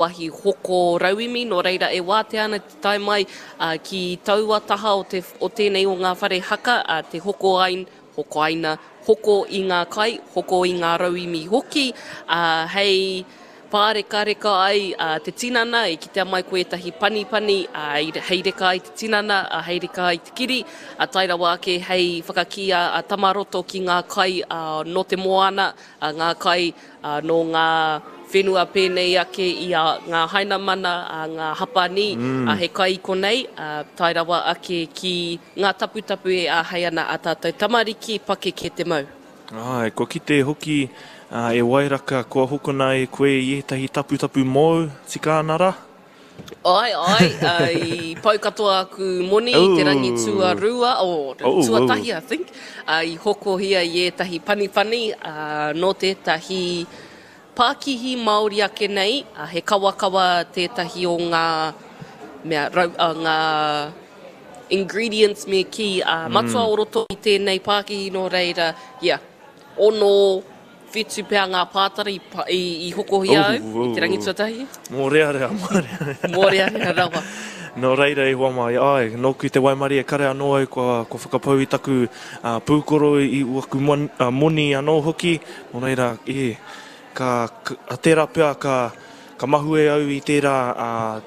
Wahi hoko rauemi, nō reira e wātea ana te tae mai ki taua taha o te, o tēnei o ngā whare haka, te hoko ai, hokoaina, hoko i ngā kai, hoko i ngā rauemi hoki, ā, hei pārekareka ai te tinana, i kitea mai ko ētahi panipani, ā, hei reka ai te tinana, ā, hei reka ai te kiri, ā, tae rawa ake hei whakakī a Tamaroto ki ngā kai, ā, nō te moana, ā, ngā kai, Ā, nō ngā whenua pēnei ake i a ngā Hainamana, ā, ngā Hapanī, ā, he kai i konei, ā, tae rawa ake ki ngā taputapu e āhei ana ā tātou tamariki pakeke te mau. Āe, kua kite hoki e Wairaka kua hokona e koe i ētahi taputapu mōu, tika ana rā? Āe, āe, i pau katoa aku moni i te rangi tuarua, oh, tuatahi I think, i hokohia i ētahi panipani nō tētahi pākihi Māori ake nei, he kawakawa tētahi o ngā mea, rau, ngā ingredients me kī, matua o roto i tēnei pākihi nō reira, yeah, ono, Whitu pea ngā pātara i hokohia au i te rangi tuatahi. Mōrearea, mōrearea. Mōrearea rawa. Nō reira e hoa mai, āe, nōku te waimarie kare anō au kua whakapau i taku pūkoro i waku moni anō hoki, nō reira, e, ka, tērā pea ka, ka mahue au i tērā,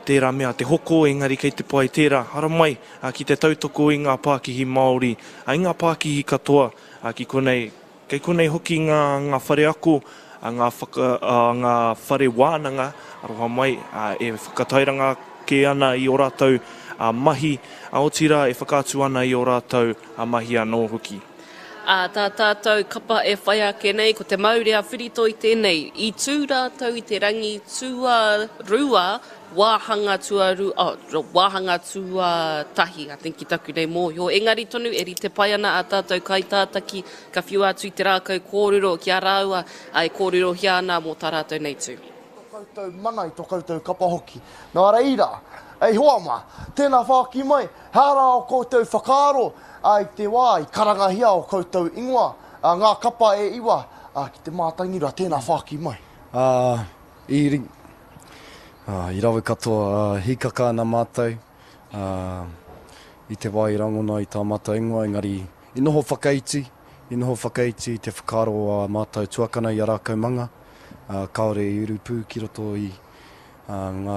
tērā mea te hoko, engari kei te pai tērā, haramai ki te tautoko i ngā pākihi Māori, i ngā pākihi katoa ki konei, Kei konei hoki ngā, ngā whare ako, ngā whaka, ngā whare wānanga, aroha mai, e whakatairanga ake ana i ō rātou mahi, otirā e whakaatu ana i ō rātou mahi anō hoki. Ā, tā tātou kapa e whai ake nei, ko te maurea whiritoi tēnei. I tū rātou i te rangi tuarua Wāhanga tuaru, oh, wāhanga tuatahi, I think ki taku nei mōhio. Engari tonu e rite pai ana ā tātou kaitātaki ka whiua atu i te rākau kōrero ki a rāua, ā, e kōrerohia ana mō tā rātou nei tū. Tō koutou mana i tō koutou kapa hoki. Nā reira, e hoa mā, tēnā whāki mai, he aha rā ō koutou whakaaro i te wā i karangahia ō koutou ingoa, ngā kapa e iwa, ki te mātangirua, tēnā whāki mai. Ā, i I rawe katoa, hīkaka ana mātou i te wā i rangona i tā mātou ingoa, engari i noho whakaiti, i noho whakaiti i te whakaaro o ā mātou tuakana i a Rākaumanga, kāore i urupū ki roto i ngā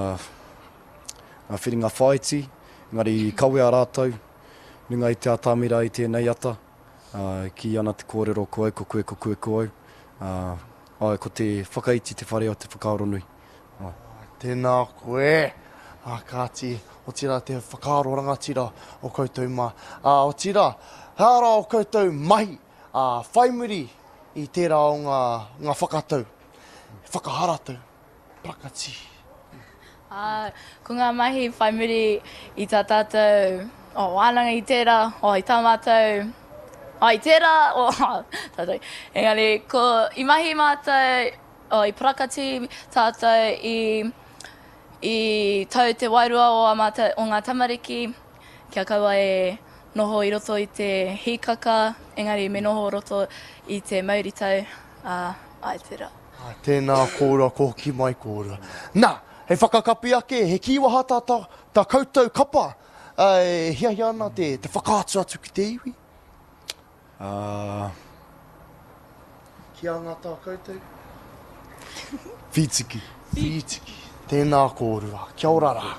whiringa whāiti, engari i kawea rātou runga i te atamira i tēnei ata, kī ana te kōrero ko au, ko koe, ko koe, ko au, āe, ko te whakaiti te whare o te whakaaro nui. Āe. Tēnā koe. Ā, kāti, otirā te whakaaro rangatira o koutou mā. Ā, otirā, he aha rā o koutou mahi, ā, whai muri i tērā o ngā, ngā whakatau, whakaharatau, parakatī. Ā, ko ngā mahi whai muri i tā tātou, oh, wānanga i tērā, oh, i tā mātou, oh, i tērā, oh, tātou. Engari, ko, i mahi mātou, Oh, i parakati tātou i, i tau te wairua o a mātou, o ngā tamariki, kia kaua e noho i roto i te hīkaka, engari me noho roto i te mauritau, ā, āe tērā. Ā, tēnā kōrua, ko hoki mai kōrua. Nā, hei whakakapi ake, he kīwaha tā, tā, tā koutou kapa, ā, e hiahia ana te, te whakaatu atu ki te iwi? Ā. Ki a ngā tā koutou? Whītiki. Whītiki. Tēnā kōrua. Kia ora rā.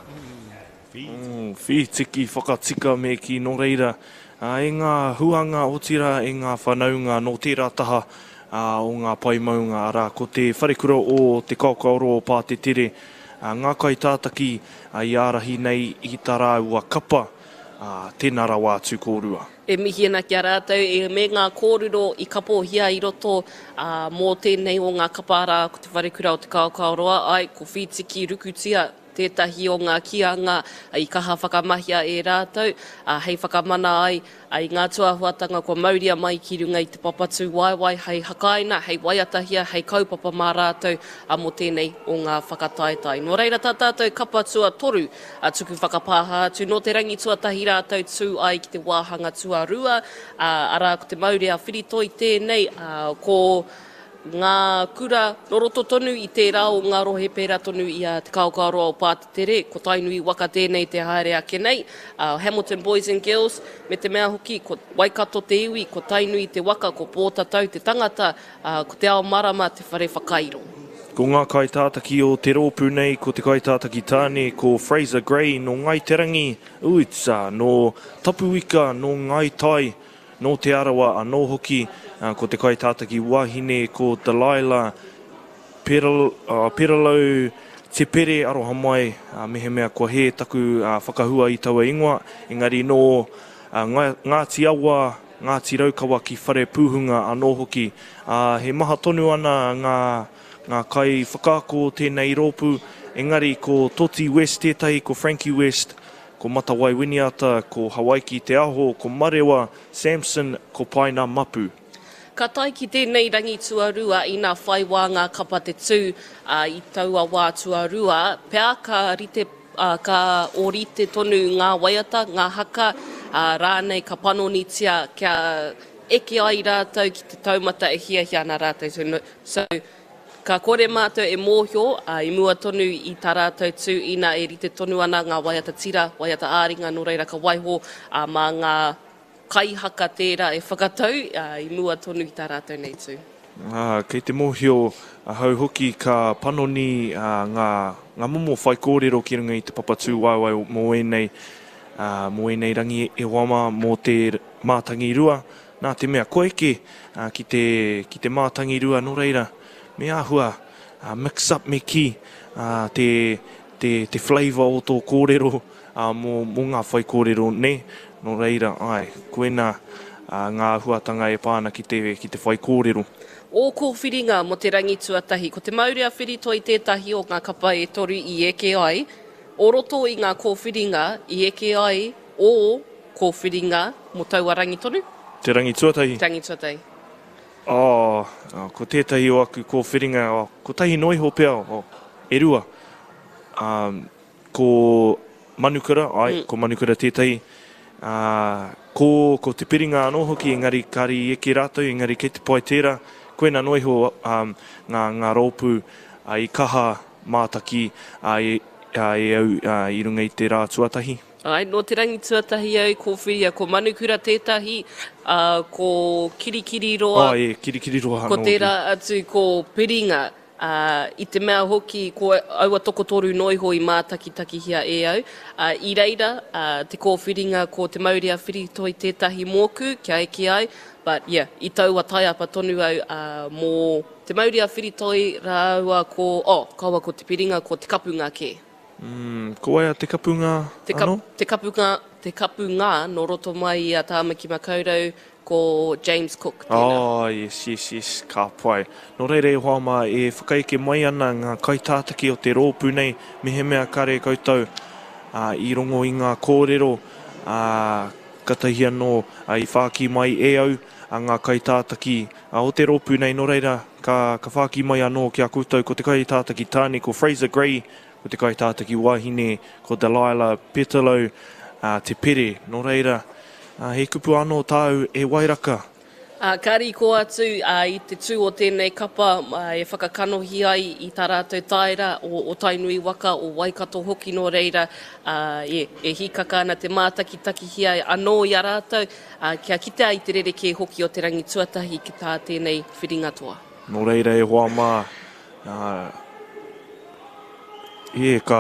Whītiki whakatika me kī nō reira, e ngā huanga otirā e ngā whanaunga nō tērā taha o ngā pae maunga, arā, ko te wharekura o Te Kaokaoroa o Pātetere, ngā kaitātaki i ārahi nei i tā rāua kapa, tēnā rawa atu kōrua. E mihi ana ki a rātou e me ngā kōrero i kapohia i roto, ā, mō tēnei o ngā kapa arā, ko Te Wharekura o Te Kaokaoroa, āe, ko Whītiki Rukutia tētahi o ngā kīanga i kaha whakamahia e rātou, ā, hei whakamana ai i ngā tūāhuatanga kua mauria mai ki runga i te papa tūwaewae hei hakaina, hei waiatahia, hei kaupapa mā rātou, ā, mō tēnei o ngā whakataetae. Nō reira tā tātou kapa tuatoru, A tuku whakapāha atu nō te rangi tuatahi rātou tū ai ki te wāhanga tuarua, ā, arā ko te maurea whiritoi tēnei, ā, ko. ngā kura nō roto tonu i tērā o ngā rohe pērā tonu i a Te Kaokaoroa o Pātetere, ko Tainui waka tēnei te haere ake nei, a Hamilton Boys and Girls, me te mea hoki ko Waikato te iwi, ko Tainui te waka, ko Pōtatau te tangata, ā, ko Te Ao Marama te whare whakairo. Ko ngā kaitātaki o te rōpū nei ko te kaitātaki tāne ko Fraser Gray nō Ngāi Te Rangi, Uits, nō Tapuika, nō Ngāi Tai, Nō Te Arawa anō hoki, ko te kaitātaki wahine ko Delilah Peralou Te Pere, aroha mai mehemea kua hē taku whakahua i taua ingoa, engari nō Ngāti Awa, Ngāti Raukawa ki Wharepūhunga anō hoki. Ā, he maha tonu ana ngā ngā kaiwhakaako o tēnei rōpū, engari ko Toti West tētahi, ko Frankie West, Ko Matawai Winiata, ko Hawaiki Te Aho, ko Marewa Samson, ko Paina Mapu. Ka tae ki tēnei rangi tuarua ina whai wā ngā kapa te tū, ā, i taua wā tuarua pea ka rite, ā, ka ōrite tonu ngā waiata, ngā haka, ā, rānei ka panonitia kia eke ai rātou ki te taumata e hiahia ana rātou. So, so Ka kore mātou e mōhio, ā, i mua tonu i tā rātou tū ina e rite tonu ana ngā waiata tira, waiata ā-ringa, nō reira ka waiho, ā, mā ngā kaihaka tērā e whakatau, ā, i mua tonu i tā rātou nei tū. Ā, kei te mōhio ahau hoki ka panoni, ā, ngā, ngā momo whaikōrero ki runga i te papa tūwaewae mō ēnei, ā, mō ēnei rangi e hoa mā, mō te mātangirua, Nā te mea kua eke ki te, ki te mātangirua, nō reira, me āhua mix up me kī te, te, te flavour o tō kōrero mō, mō ngā whaikōrero, nē? Nō reira, āe, koinā ngā āhuatanga e pā ana ki te, ki te whaikōrero. Ō kōwhiringa mō te rangi tuatahi. Ko Te Maurea Whiritoi tētahi o ngā kapa e toru i eke ai, o roto i ngā kōwhiringa i eke ai ō kōwhiringa mō taua rangi tonu? Te rangi tuatahi. Te rangi tuatahi. Oh, ko tētahi o aku kōwhiringa, oh, kotahi noa iho pea, oh, e rua. Um, ko Manukura, ai, mm. ko Manukura tētahi. Uh, ko, ko Te Piringa anō hoki, engari kāre i eke rātou, engari kei te pai tērā. Koina noa iho um, ngā, ngā rōpū uh, i kaha mātaki uh, e, uh, e au uh, i runga i te rā tuatahi. Āe, nō te rangi tuatahi au, kōwhiria ko Manukura tētahi, ā, ko Kirikiriroa, Āe, Kirikiriroa anō ko tērā atu ko Piringa, ā, i te mea hoki ko aua tokotoru noa iho i mātakitakihia e au, ā, i reira, ā, te kōwhiringa ko Te Mauri-a-Whiritoi tētahi mōku kia eke ai, but yeah, i taua taiapa tonu au, ā, mō Te Mauri-a-Whiritoi rāua ko, oh, kaua ko Te Piringa, ko Te Kapunga kē. Mm, ko wai a Te Kapunga Te kap, anō? Te Kapunga, Te Kapunga nō roto mai i a Tāmaki Makaurau, ko James Cook tēnā. Oh, yes, yes, yes, ka pai. Nō reira e hoa mā, e whakaeke mai ana ngā kaitātaki o te rōpū nei, mehemea kare koutou ā, i rongo i ngā kōrero, ā, katahi anō i whāki mai e au a ngā kaitātaki o te rōpū nei, nō reira, ka, ka whāki mai anō ki a koutou ko te kaitātaki tāne, ko Fraser Gray, Ko te kaitātaki wahine, ko Delilah Petalo Te Pere. Nō reira, he kupu anō tāu e Wairaka? Ka riko atu i te tū o tēnei kapa e whakakanohi ai i tā rātou taera o Tainui waka, o Waikato hoki nō reira, e hīkaka ana te mātakitakihia anō i a rātou, kia kitea i te rerekē hoki o te rangi tuatahi ki tā tēnei whiringa toa. Nō reira e hoa mā, Ē, ka,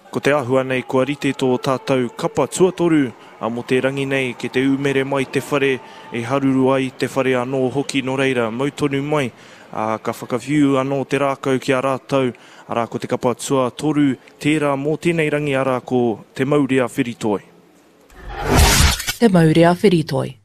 ko te āhua nei kua rite tō tātou kapa tuatoru mō te rangi nei, kei te ūmere mai te whare, e haruru ai te whare anō hoki, nō reira, mau tonu mai, ā, ka whakawhiu anō te rākau ki a rātou, arā, ko te kapa tuatoru tērā mō tēnei rangi, arā, ko Te Maurea Whiritoi. Te Maurea Whiritoi.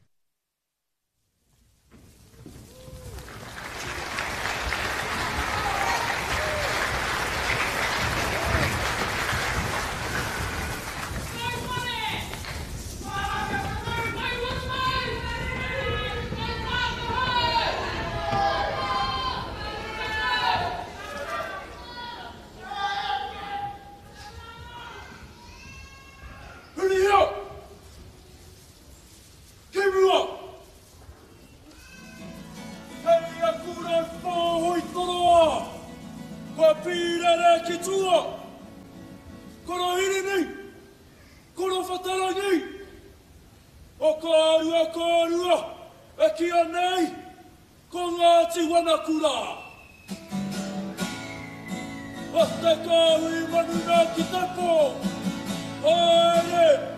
Hurihia! kīia nei ko Ngāti Wanakura. O te kāhui manu nā ki te pō, haere!